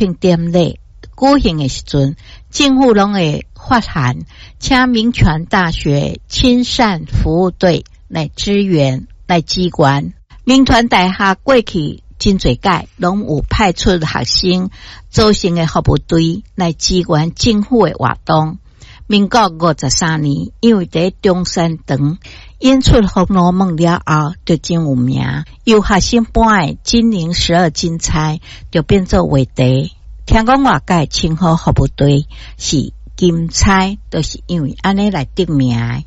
慶典禮舉行的時陣，政府攏會發函請銘傳大學親善服務隊來支援、來支援。銘傳大學過去真濟屆攏有派出學生組成的服務隊來支援政府的活動。民國53年，因為佇中山堂演出《紅樓夢》了後，就真有名。由學生扮的金陵十二金釵就變做話題。聽講外界稱呼服務隊是金釵，就是因為按呢來得名的。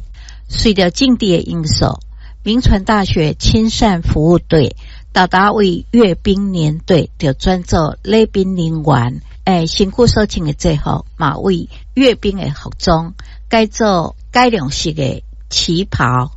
隨著政治的因素，銘傳大學親善服務隊沓沓為閱兵連隊就轉做禮賓人員。身軀所穿的制服嘛，為閱兵的服裝改做改良式的旗袍。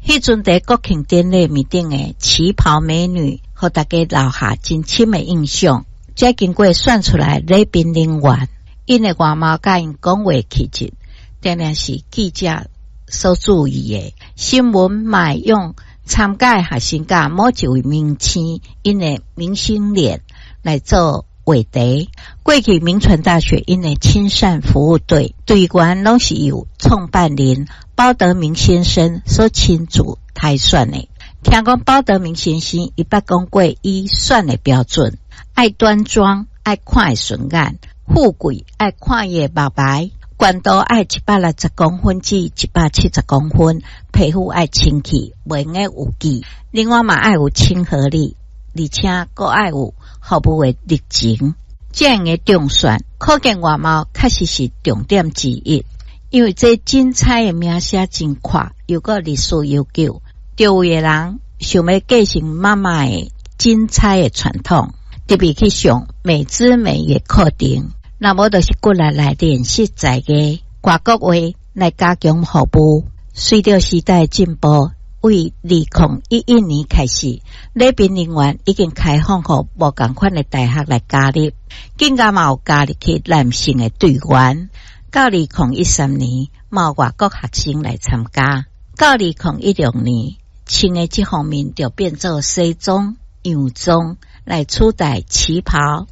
彼陣佇國慶典禮面頂的旗袍美女，予大家留下真深的印象。這經過選出來禮賓人員，𪜶的外貌佮𪜶講話氣質，定定是記者所注意的。新聞嘛會用參加的學生佮某一位明星，𪜶的明星臉來做話題。過去銘傳大學𪜶的親善服務隊隊員攏是由創辦人鮑德明先生所親自篩選的。聽講鮑德明先生伊捌講過，伊選的標準愛端莊，愛看會順眼，富貴愛看伊的目眉，懸度愛160公分至170公分，皮膚愛清氣，袂用得有痣。另外嘛愛有親和力，而且閣愛有服務的熱情。這樣的中選，可見外貌確實是重點之一。因為這金釵的名聲真闊，又閣歷史悠久，周圍的人想欲繼承媽媽的金釵的傳統，特別去上美姿美儀課程，若無就是骨力來練習才藝，外國話來加強服務。隨著時代進步，為2011年開始，禮賓人員已經開放予無仝款的大學來加入，更加嘛有加入去男性的隊員。到2013年，嘛有外國學生來參加。到2016年，穿的這方面就變做西裝、洋裝來取代旗袍。